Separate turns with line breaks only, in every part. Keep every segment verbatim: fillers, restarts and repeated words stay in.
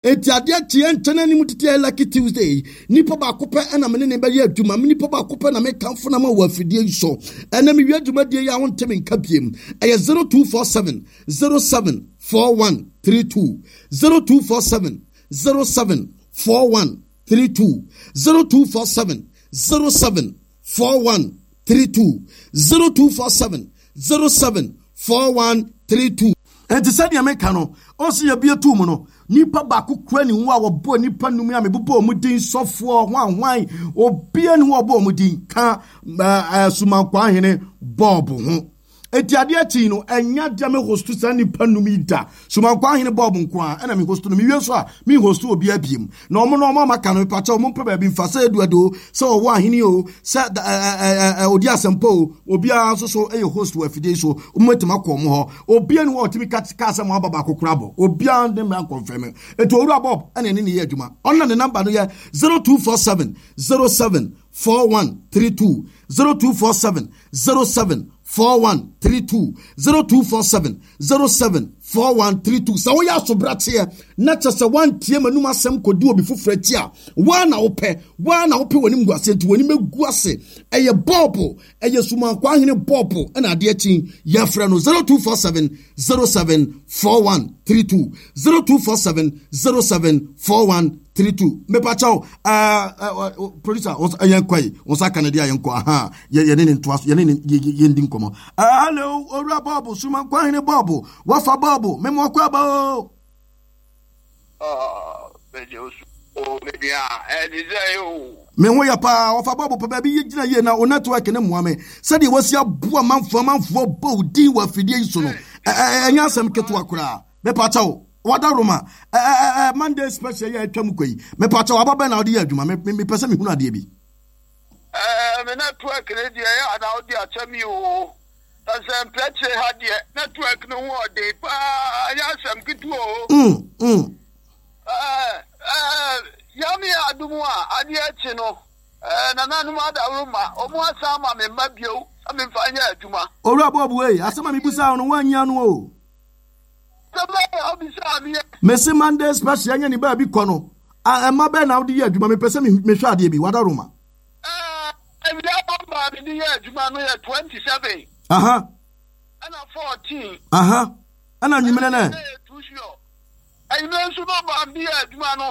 Enti adeɛ kyeɛ nkyɛn anim tete yɛ Lucky Tuesday. Nipa baako pɛ ɛna me ne ne bɛyɛ adwuma. Me nipa baako pɛ na mekamfo na ma wɔ afidie yi so. Ɛnɛ mewie dwumadie yi a wonte me nka biem. Ɛyɛ zero two four seven zero seven four one three two zero two four seven zero seven four one three two zero two four seven zero seven four one three two zero two four seven zero seven four one three two. Enti sɛdeɛ meka no, ɔsi yɛbie tuu mu no, nipa baako kura ne ho a wɔbɔ nipa num a mebobɔ wɔn din sɔfoɔ hwanhwan obia ne ho a ɔbɔ wɔn din ka ɛɛ sumankwaa hene bɔɔbo ho. Eti adeɛ akyi no, ɛnya deɛ me hosto saa nipa num yi da. Sumankwaa hene bɔɔbo nko a ɛna me hosto no. Mewie nso a, me hosto obiara biem. Na ɔmo na ɔmo amaka no, mepakyɛ ɔmo mpɛ baabi mfa sɛ Eduard o, sɛ ɔwɔ ahene o, sɛ ɛɛ ɛɛ odi asɛmpa o, obiara nso so ɛyɛ host wɔ afidie yi so. Ɔmo atumi akɔ ɔmo hɔ. Obiara ni hɔ a ɔtumi ka kaa sɛ mo aba baako koraa bɔ. Obiara ne mmra nkɔnfɛm. Eti Owura Bob ɛna ɛne ne yɛ adwuma. Ɔno na ne namba no yɛ zero two four seven zero seven four one three two zero two four seven zero seven four one three two zero two four seven zero seven four one three two. Sɛ woyɛ asobrateɛ na kyɛ sɛ woantie m'anum asɛm kɔdi obi foforɔ akyi a, woa na wopɛ, woa na wopɛ w'anim gu ase, nti w'anim agu ase. Ɛyɛ bɔɔbo, ɛyɛ sumankwaa hene bɔɔbo ɛna adeɛ akyi yɛfrɛ no zero two four seven zero seven four one three two zero two four seven zero seven four one three two. Mepakyɛw, ɛɛ ɛɛ producer, yɛn kɔ yi, wɔn nsa ka ne deɛ a yɛn kɔ, aha, yɛ yɛne ne ntoa so, yɛne ne yɛ yɛn di nkɔmɔ. Ɛɛ hello, Owura Bɔɔbo, Sumankwaa hene Bɔɔbo, wafa Bɔɔbo, mɛmɔ akɔ aba o. Me ho yɛ paa, wɔfa Bɔɔbo pɛ baabi yɛ gyina yie na o network ne mmoa me sɛdeɛ wasi aboa amanfoɔ amanfoɔ bɔ wo din wɔ afidie yi so no, ɛnyɛ asɛm ketewa koraa. Mepakyɛw, wada Roma ɛɛ Monday special yɛ atwa mu kɔ yi, mepakyɛw, aba bɛn na wode yɛ adwuma? Mepɛ sɛ mehunu adeɛ bi.
Ɛɛ me network ne deɛ ɛyɛ ana wode akyɛ me o. Sɛ mprɛkyerɛ ha deɛ network no ho ɔden paa, ɛnyɛ asɛm ketewa o.
Mm, mm.
Ɛɛ ɛɛ Nyame adom a adeɛ akyi no, ɛɛ nananom adaworoma, wɔn asan ama me mma bio sɛ memfa nyɛ adwuma.
Owura Bob wei, asɛm a mebusaa wo no woanyi ano o.
Asɛm bɛn na wobisaa me?
Mese Monday special ɛnyɛ ne baabi kɔ no, ɛma bɛn na wode yɛ adwuma? Mepɛ sɛ mehwɛ adeɛ bi, wadaworoma.
Ɛɛ awia nɔmba a mede yɛ adwuma no yɛ twenty seven.
Aha.
Ɛna fourteen.
Aha. Ɛna nwumene nɛ.
Ɛnyimire nso nɔmba a mede yɛ adwuma no,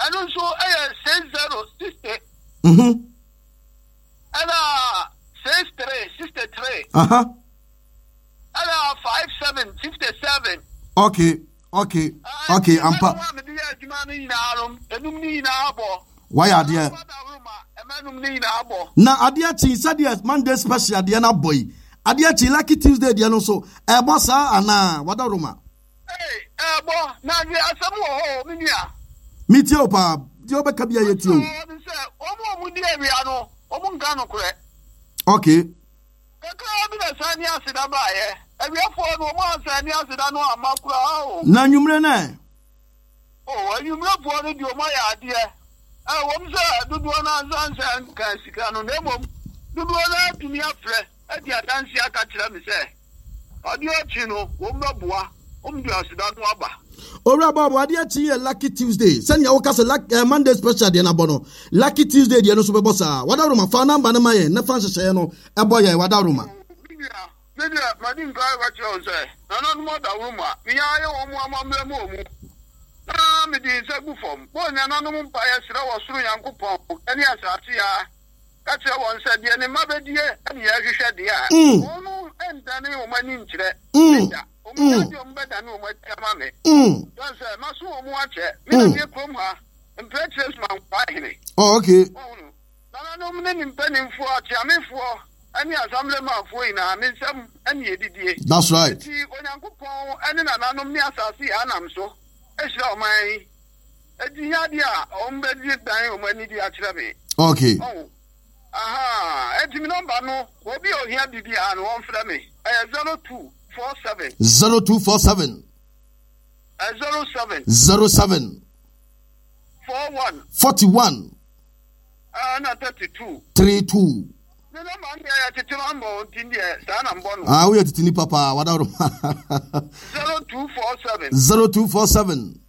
ɛno nso ɛyɛ six zero sixty.
Mhm.
Ɛna six three sixty three.
Aha.
Ɛna five seven fifty seven.
Okay, okay, okay, ampa.
Ɛna mede yɛ adwuma no nyinaa no, enum ne nyinaa bɔ.
Wayɛ adeɛ. Na adeɛ kyi sɛdeɛ Monday special adeɛ no abɔ yi, adeɛ kyi Lucky Tuesday deɛ no nso ɛbɔ saa anaa wada Roma?
Ɛbɔ na adeɛ asɛm wɔ hɔ o, me nua.
Metie o paa, deɛ wobɛka bia yɛtie o.
Sɛ wɔn a wɔn di awia no, wɔn nka nokorɛ.
Okay.
Kakra bi na saa ni aseda baayɛ. Awiafoɔ no wɔn ansa ni aseda no amma koraa o.
Na nwumire nɛ?
O, anwummerɛfoɔ no deɛ wɔn ayɛ adeɛ. Ɛwɔm sɛ dodoɔ no ansa nsa nka sika no, na mmom dodoɔ no atumi afrɛ adi adanse aka kyerɛ me sɛ adeɛ akyi no wɔn bɛboa, wɔn de aseda no aba.
Owura Bob, adeɛ akyi yɛ Lucky Tuesday. Sɛnea woka sɛ luck, eh, Monday special deɛ no abɔ no, Lucky Tuesday deɛ no nso bɛbɔ saa. Wada Roma, fa namba no ma yɛn na fa nhyehyɛeɛ no ɛbɔ yɛn. Wada Roma.
Me nua, me deɛ madi nkan aka kyerɛ wo sɛ nananom adaworoma, menya ayɛ wɔn amammerɛ ma wɔn, na mede nsa gu fam bɔ nananom mpaeɛ srɛ wɔ soro Nyankopɔn ne asase a ka kyerɛ wɔn sɛ deɛ ne mma bɛdie ne yɛhwehwɛ deɛ a wɔn no ndane wɔn ani nkyerɛ me da. Wɔn nyɛ deɛ wɔn bɛdane wɔn akyi ama me. Sɛ sɛ maso wɔn akyɛ me na meyɛ kurom ha mprɛkyerɛ sumankwaa hene.
Oh, okay.
Wɔhunu nananom ne ne mpanimfoɔ, akyeamefoɔ ne asamblemafoɔ nyinaa, me nsam ne yɛdidie.
That's right.
Nti Onyankopɔn ne nananom ne asase yɛ anam so ahyira ɔman yi. Enti nyɛ adeɛ a wɔn bɛgye dan wɔn ani de akyerɛ me.
Okay.
Oh. Aha. Enti me nɔmba no, obi a ohia biribiara no, wɔmfrɛ me. Ɛyɛ zero two four seven.
Zero two four seven.
Zero seven.
Zero seven.
Four one.
Forty one.
Ɛna thirty two.
Three two.
Ne nɔmba no yɛ tete nɔmba o, nti deɛ saa na mbɔ no.
Ah, woyɛ tete nipa paa, wada
Zero two four seven.
Zero two four seven.